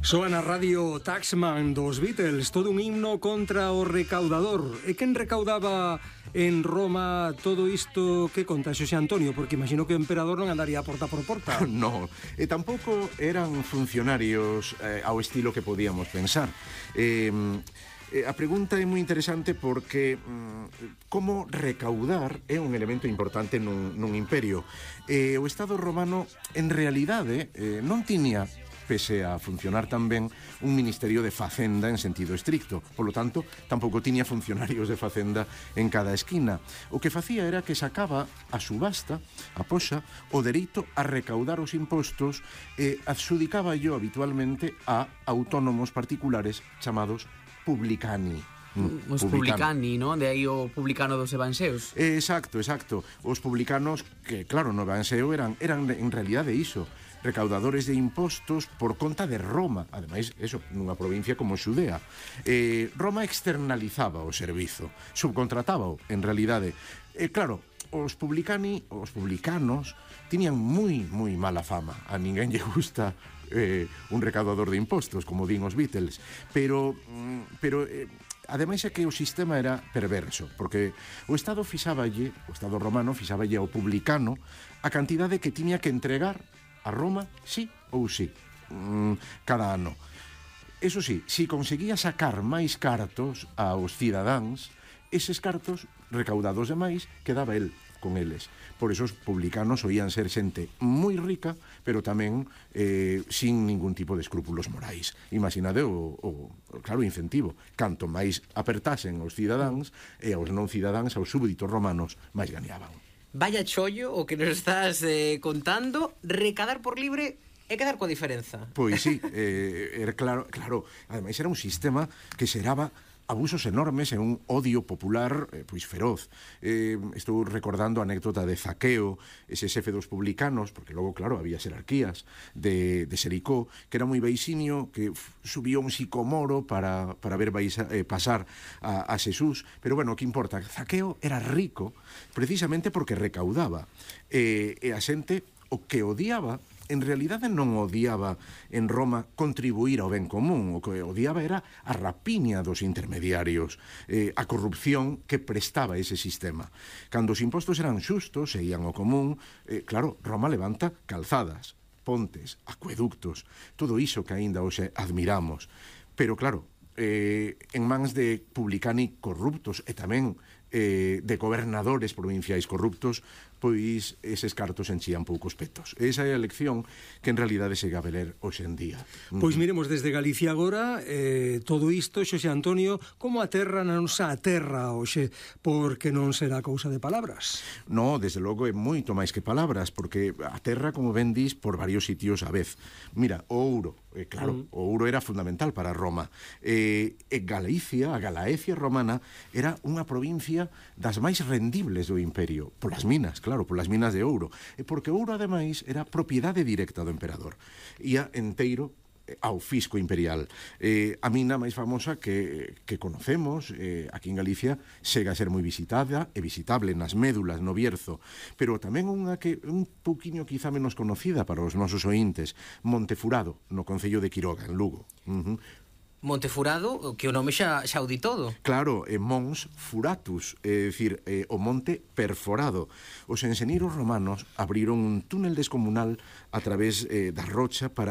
Soa na radio Taxman dos Beatles, todo un himno contra o recaudador. E quen recaudaba en Roma todo isto que conta Xosé Antonio? Porque imagino que o emperador non andaría porta por porta. No, e tampouco eran funcionarios ao estilo que podíamos pensar. A pregunta é moi interesante porque como recaudar é un elemento importante nun imperio. O Estado romano, en realidade, non tiña, pese a funcionar tan ben, un ministerio de facenda en sentido estricto. Por lo tanto, tampouco tiña funcionarios de facenda en cada esquina. O que facía era que sacaba a subasta, a poxa, o dereito a recaudar os impostos e adxudicaba yo habitualmente a autónomos particulares chamados publicani. Os publicani, non? De aí o publicano dos evanxeos. Exacto. Os publicanos que, claro, no evanxeo eran en realidade iso, recaudadores de impostos por conta de Roma. Ademais, eso, nunha provincia como Xudea. Roma externalizaba o servizo, subcontratábao, en realidade. Claro, os publicanos tiñan moi mala fama. A ninguén lle gusta un recaudador de impostos, como din os Beatles. Pero ademais é que o sistema era perverso, porque o Estado romano fixaballe ao publicano a cantidade que tiña que entregar a Roma, sí ou sí, cada ano. Eso sí, si conseguía sacar máis cartos aos cidadáns, eses cartos recaudados de máis quedaba el con eles. Por eso os publicanos oían ser xente moi rica, pero tamén sin ningún tipo de escrúpulos morais. Imaginade claro, incentivo. Canto máis apertasen os cidadáns e aos non cidadáns, aos súbditos romanos, máis gañaban. Vaya chollo o que nos estás contando. Recadar por libre e quedar coa diferenza. Pois sí, era claro, ademais era un sistema que xeraba abusos enormes e un odio popular pois feroz. Estou recordando a anécdota de Zaqueo, ese xefe dos publicanos, porque logo, claro, había xerarquías de Xericó, que era moi beixinio, que subiu un sicomoro para ver pasar a Xesús. Pero bueno, que importa? Zaqueo era rico precisamente porque recaudaba. E a xente o que odiaba, en realidade non odiaba en Roma contribuir ao ben común, o que odiaba era a rapiña dos intermediarios, a corrupción que prestaba ese sistema. Cando os impostos eran xustos e ían ao común, claro, Roma levanta calzadas, pontes, acueductos, todo iso que aínda hoxe admiramos. Pero claro, en mans de publicani corruptos e tamén de gobernadores provinciais corruptos, pois eses cartos enchían poucos petos. Esa é a lección que en realidade se gabe ler hoxe en día. Pois miremos desde Galicia agora todo isto, Xosé Antonio, como a terra non se aterra hoxe, porque non será cousa de palabras. No, desde logo é moito máis que palabras, porque a terra, como ben dis, por varios sitios a vez. Mira, o ouro, claro, o ouro era fundamental para Roma. Galicia, a Galaecia romana, era unha provincia das máis rendibles do imperio, polas minas, claro, polas minas de ouro, e porque o ouro, ademais, era propiedade directa do emperador. Ia enteiro ao fisco imperial. A mina máis famosa que conocemos aquí en Galicia chega a ser moi visitada e visitable nas médulas, no Bierzo, pero tamén unha que un pouquiño quizá menos conocida para os nosos ointes, Montefurado, no concello de Quiroga, en Lugo. Montefurado, que o nome xa o di todo. Claro, Mons Furatus, é dicir, o monte perforado. Os enxeñeiros romanos abriron un túnel descomunal a través da rocha para